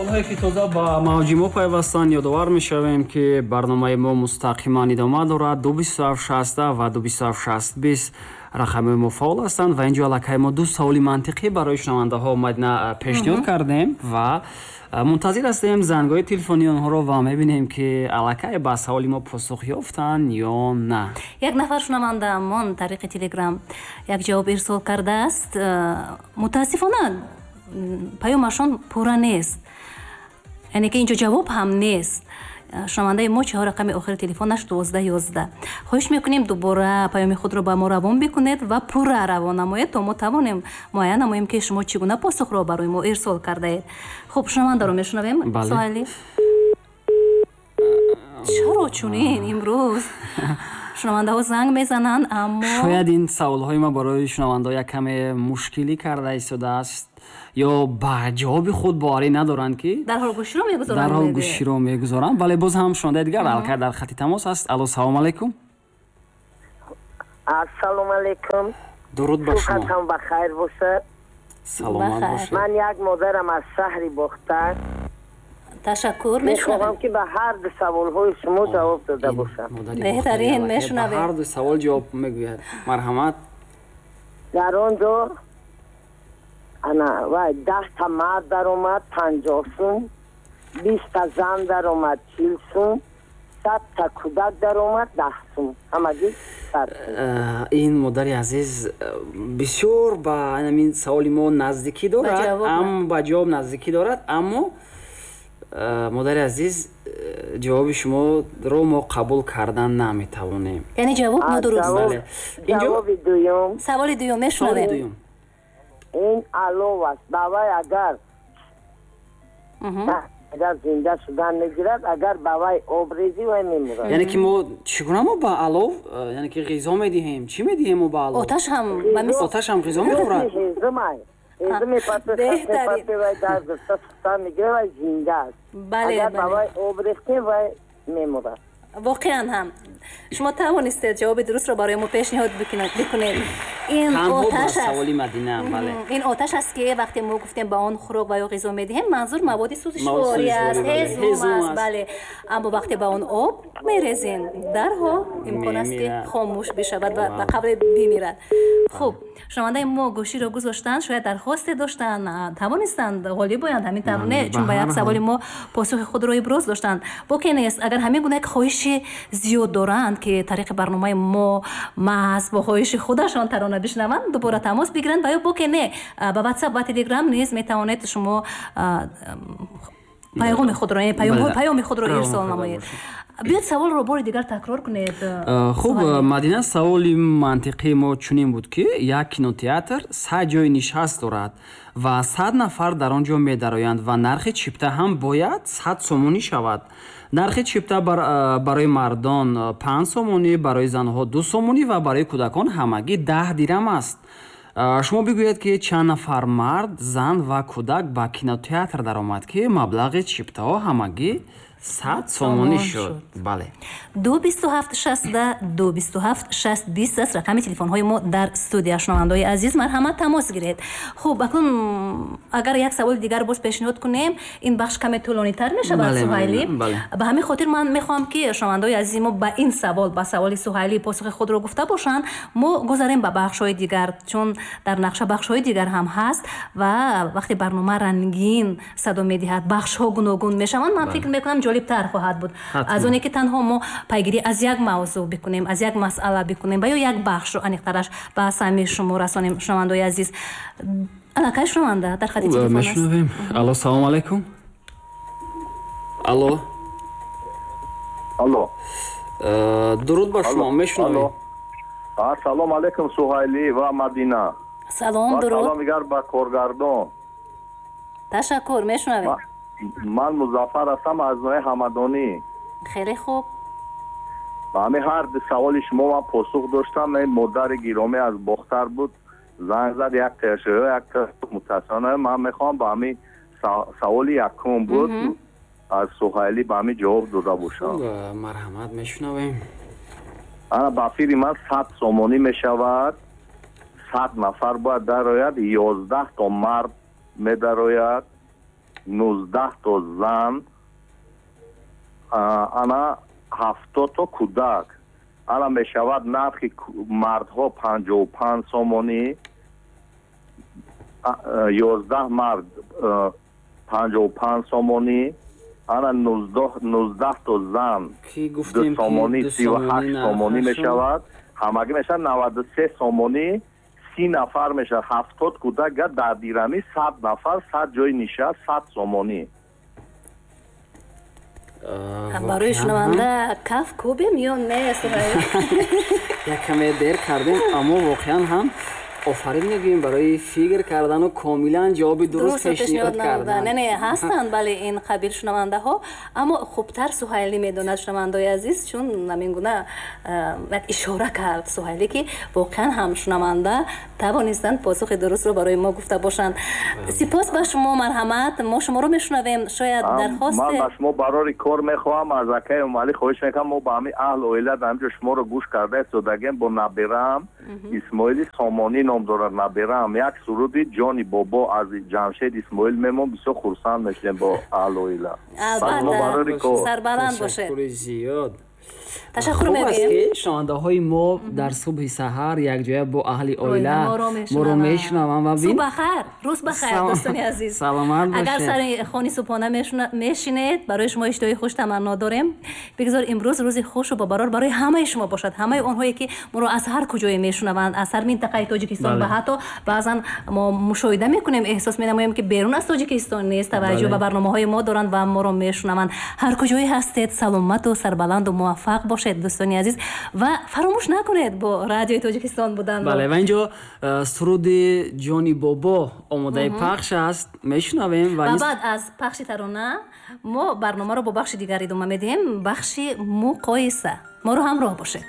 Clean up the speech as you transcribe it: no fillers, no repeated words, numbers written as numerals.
Онҳое, ки тоза ба мавҷи мо пайвастанд, ёдовар мешавем, ки барномаи мо мустақиман идома дорад. 227 60 ва 227 60 20 рақамҳои мо фаъол ҳастанд ва инҷо аллакай мо ду саволи мантиқӣ барои шунавандаҳо, Мадина, пешниҳод кардем ва мунтазир ҳастем зангҳои телефонии онҳоро ва мебинем, ки аллакай ба саволи мо посух ёфтанд ё на. Як нафар шунавандаамон тариқи Телеграм як ҷавоб ирсол кардааст. Мутаассифона, паёмашон пурра нест, яъне ки инҷо ҷавоб ҳам нест. Шунавандаи мо, чаҳор рақами охири телефонаш 1211. Хоҳиш мекунем, дубора паёми худро ба мо равон бикунед ва пурра равон намоед, то мо тавонем муайян намоем, ки шумо чӣ гуна посухро барои мо ирсол кардаед. Хуб, шунавандаро мешунавем. Суҳайли, чаро чунин имрӯз шунавандаҳо занг мезананд, аммо Шояд ин саволҳои ма барои шунавандаҳо як каме мушкилӣ карда истодааст ё ба ҷавоби худ боварӣ надоранд, ки дарҳол гӯширо мегузоранд. Дарҳол гӯширо мегузоранд. Бале, боз ҳам шунавандаи дигар аллакай дар хати тамос аст. Алло, салому алайкум. Ассалому алайкум. Дуруд ба шумо. Субҳатон ба хайр бошад. Саломат бошед. Ман як модарам аз шаҳри Бохтар. Ташаккур. Мехоҳам, ки ба ҳар ду саволҳои шумо ҷавоб дода бошам. Беҳтарин, мешунавем. Ҳар ду савол ҷавоб мегӯяд. Марҳамат. Дар он ҷо ана вай 10-та мард даромад, 50 сум, 20-та зан даромад, 40 сум, 100-та кӯдак даромад, 10 сум, ҳамагӣ 100 сум. Ин модари азиз бисёр ба ҳамин саволи мо наздикӣ дорад, ба ҷавоб наздикӣ дорад, аммо, модари азиз, ҷавоби шуморо мо қабул кардан наметавонем. Яъне ҷавоб нодуруст. Ҷавоби дуюм. Саволи дуюм мешунавем. Ин алов аст. Ба вай агар зинда шудан мегирад, агар ба вай об резӣ, вай мемурад. Яъне ки мо чӣ гуна мо ба алов, яъне ки ғизо медиҳем? Чӣ медиҳем мо ба алов? Оташ ҳам. Оташ ҳам ғизо мехӯрад? Ҳезумай, ҳезум мепартои, вай дар гуфта сӯхтан мегирад, вай зинда аст. Агар ба вай об рехтем, вай мемурад. Воқеан ҳам шумо тавонистед ҷавоби дурустро барои мо пешниҳод бикунед. Ин оташ саволи Мадина, бале. Ин оташ аст, ки вақте мо гуфтем, ба он хӯрок ва ё ғизо медиҳем, манзур маводи сӯзишворӣ аст, ҳезум аст, бале. Аммо вақте ба он об мерезем, дарҳол имкон аст, ки хомӯш бишавад ва ба қавле бимирад. Хуб, шунавандаи мо гӯширо гузоштанд, шояд дархосте доштанд, тавонистанд ғолиб оянд, ҳамин тавр не? Чун ба як саволи мо посухи худро иброз доштанд. Боке нест, агар ҳамин гуна як хоҳиши зиёд доранд, ки тариқи барномаи мо маҳз бо хоҳиши худашон тарона бишнаванд, дубора тамос бигиранд ва ё боке не, ба Ватсап ва Телеграм низ метавонед шумо пайғоми худро, паёми худро ирсол намоед. Биёд, саволро бори дигар такрор кунед. Хуб, Мадина, саволи мантиқии мо чунин буд, ки як кинотеатр 100 ҷои нишаст дорад ва 100 нафар дар он ҷо медароянд ва нархи чипта ҳам бояд 100 сомонӣ шавад. Нархи чипта барои мардон 5 сомонӣ, барои занҳо 2 сомонӣ ва барои кӯдакон ҳамагӣ 10 дирам аст. Шумо бигӯед, ки чанд нафар мард, зан ва кӯдак ба кинотеатр даромад, ки маблағи чиптаҳо ҳамагӣ 100 сомонӣ шуд? Бале. 227 60 227 60 20 аст рақами телефонҳои мо дар студия. Шунавандаои азиз, марҳамат, тамос гиред. Хуб, акнун агар як саволи дигар боз пешниҳод кунем, ин бахш каме тӯлонитар мешавад, Суҳайлӣ. Ба ҳамин хотир ман мехоҳам, ки шунавандаои азизи мо ба ин савол, ба саволи Суҳайлӣ, посухи худро гуфта бошанд, мо гузарем ба бахшҳои дигар, чун дар нақша бахшҳои дигар ҳам ҳаст ва вақте барнома рангин садо медиҳад, бахшҳо гуногун мешаванд, ман фикр мекунам, ҷолибтар хоҳад буд аз оне ки танҳо мо пайгирӣ аз як мавзӯъ бикунем, аз як масъала бикунем ва ё як бахшро аниқтараш ба самъи шумо расонем. Шунавандаои азиз, аллакай шунаванда дар хати телефон аст. Мешунавем. Алло, салому алайкум, алло. Алло. Дуруд ба шумо, мешунавем. Салом алайкум, Суҳайлӣ ва Мадина. Салом, дуруд. Салом дигар ба коргардон. Ташаккур, мешунавем. Ман Музаффар ҳастам аз ноҳияи Ҳамадонӣ. Хеле хуб. Ба ҳамин ҳар ду саволи шумо ман посух доштам. Ин модари гиромӣ аз Бохтар буд, занг зад, як ташо, як мутаассифона. Ман мехоҳам ба ҳамин саволи якум буд аз Суҳайлӣ, ба ҳамин ҷавоб дода бошам. Марҳамат, мешунавем. Ана, ба фикри ман, 100 сомонӣ мешавад, 100 нафар бояд дарояд, 11 то мард медарояд. 19 то зан, ана 70 то кӯдак. Ана мешавад нархи мардҳо 55 сомонӣ, 11 мард 55 сомонӣ, ана 19 то зан 2 сомонӣ 38 сомонӣ мешавад. Ҳамагӣ мешавад 93 сомонӣ, 30 нафар мешавад, 70 кӯдак дар дирами 100 нафар, 100 ҷои нишаст 100 сомонӣ. Барои шунаванда каф кӯбем ё не, Суҳайл? Як каме дер кардем, аммо воқеан ҳам офарин мегӯем барои фикр кардану комилан ҷавоби дуруст пешниҳод кардан. Не, не, ҳастанд, бале, ин қабил шунавандаҳо, аммо хубтар Суҳайлӣ медонад, шунавандаои азиз, чун ҳамин гуна як ишора кард Суҳайлӣ, ки воқеан ҳам шунаванда тавонистанд посухи дурустро барои мо гуфта бошанд. Сипос ба шумо, марҳамат, мо шуморо мешунавем. Шояд дархосте. Ман ба шумо барори кор мехоҳам, аз акаи Эмомалӣ хоҳиш мекунам, мо ба ҳамин аҳл оила дар ҳамин ҷо шуморо гӯш карда истодагем бо набераам Исмоили Сомонӣ ном дорад набераам, як суруди ҷони бобо аз Ҷамшед Исмоил мемон, бисёр хурсанд мешудем бо аҳл оила. Албатта, сарбаланд бошед. Ташаккури зиёд. Ташаккур мегӯем, ки шунавандаҳои мо дар субҳи саҳар якҷоя бо аҳли оила моро мешунаванд ва субҳ бахайр, рӯз бахайр, дӯстони азиз, саломат бошед. Агар сари хони субҳона мешинед, барои шумо иштиҳои хуш таманно дорем. Бигзор имрӯз рӯзи хушу бобарор барои ҳамаи шумо бошад, ҳамаи онҳое ки моро аз ҳар куҷое мешунаванд, аз ҳар минтақаи Тоҷикистон ва ҳатто баъзан мо мушоҳида мекунем, эҳсос менамоем, ки берун аз Тоҷикистон низ таваҷҷӯҳ ба барномаҳои мо доранд ва моро мешунаванд. Ҳар куҷое ҳастед, саломату сарбаланду муваффақ бошед, дӯстони азиз, ва фаромӯш накунед бо Радиои Тоҷикистон будан. Бале, ва инҷо суруди ҷони бобо омодаи пахш аст, мешунавем ва баъд аз пахши тарона мо барномаро бо бахши дигар идома медиҳем, бахши муқоиса. Моро ҳамроҳ бошед.